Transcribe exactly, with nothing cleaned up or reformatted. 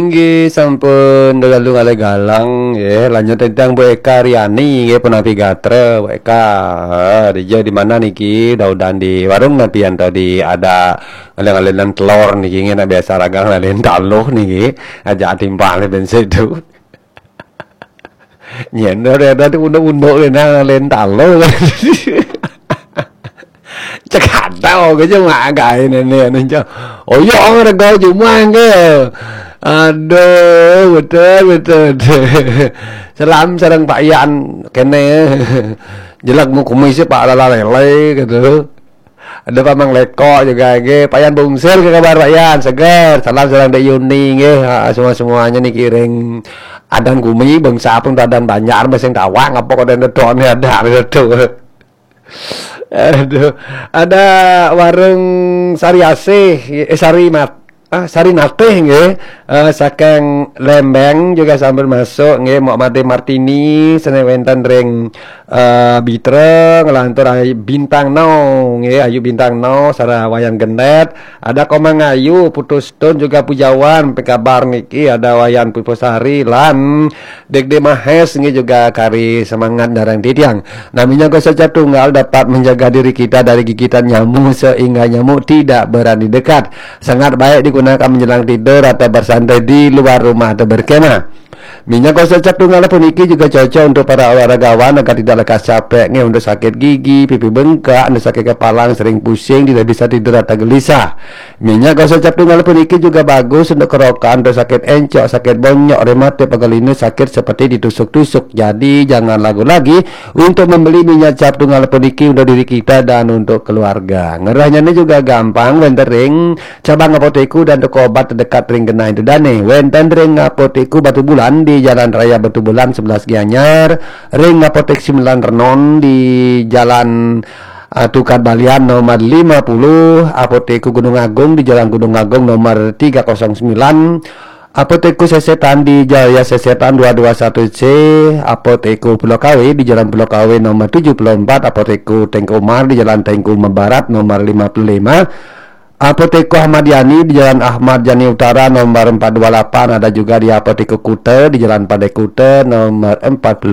Inggih sampun lalu ngalih galang nggih, lanjut tentang Bu Eka Riani nggih, Penapi Gatra, Bu Eka. Eh, dija di mana niki? Daudan di warung napi ento di ada ngalih-ngalihan telur niki nggih, nak biasa ragang ngalih taluh niki. Aja timpal ben situ. Nyen ora ada unduk-unduk ngalih taluh. Cekadau ke cuma gawe nene anu cak. Oh iya, ora gawe cuma ke. Aduh, betul, betul, betul. Salam sareng Pak Yan kene. Jelek mu kumis Pak Lala Lele gitu. Ada Pak Mang Leko juga nggih. Pak Yan Bungsir, ke kabar Pak Yan? Seger. Salam sareng Dek Yuni nggih. Ha, semua-semuanya niki ring adan gumi, bangsa pun adan Banjar, sing tawang apa kok ada ada. Aduh. Ada warung Sari Asih, eh, Sari Mat, ah, Sari Natih nggih. Eh, saking Lembeng juga sampun masuk nggih, Mok Made Martini, sene wenten ring, eh, Bitra, ngelantur Ayu Bintang No nggih, Ayu Bintang No, Sarah Wayan Genet, ada Komang Ayu, Putus Tun juga Pujawan, pe kabar niki, ada Wayan Puspasari lan Dek De Mahes nggih juga kari semangat darang titiang. Nah, minyak gosok cap tunggal dapat menjaga diri kita dari gigitan nyamuk sehingga nyamuk tidak berani dekat. Sangat baik digunakan menjelang tidur atau bersantai di luar rumah atau berkemah. Minyak gosok cap tunggal puniki juga cocok untuk para olahragawan agar tidak lekas capek nggih, untuk sakit gigi, pipi bengkak, untuk sakit kepala, sering pusing, tidak bisa tidur atau gelisah. Minyak gosok cap tunggal puniki juga bagus untuk kerokan, untuk sakit encok, sakit bonyok, rematik, pegal linu, sakit seperti ditusuk-tusuk. Jadi jangan ragu lagi untuk membeli minyak cap tunggal puniki untuk diri kita dan untuk keluarga. Ngerahnya ini juga gampang, wenten ring cabang apotek dan toko obat terdekat ring genah dane. Wenten ring apotek Batu Bulan di Jalan Raya Batu Bulan sebelas Gianyar, ring apotek Sembilan Renon di Jalan, eh, Tukad Balian nomor lima puluh, apotek Gunung Agung di Jalan Gunung Agung nomor tiga kosong sembilan, apotek Sesetan di Jaya Sesetan dua dua satu C, apotek Pulau Kawe di Jalan Pulau Kawe nomor tujuh puluh empat, apotek Tengku Umar di Jalan Tengku Umar Barat nomor lima puluh lima, apotek Ahmad Yani di Jalan Ahmad Yani Utara nomor empat dua lapan, ada juga di apotek Kuta di Jalan Pandai Kuta nomor empat puluh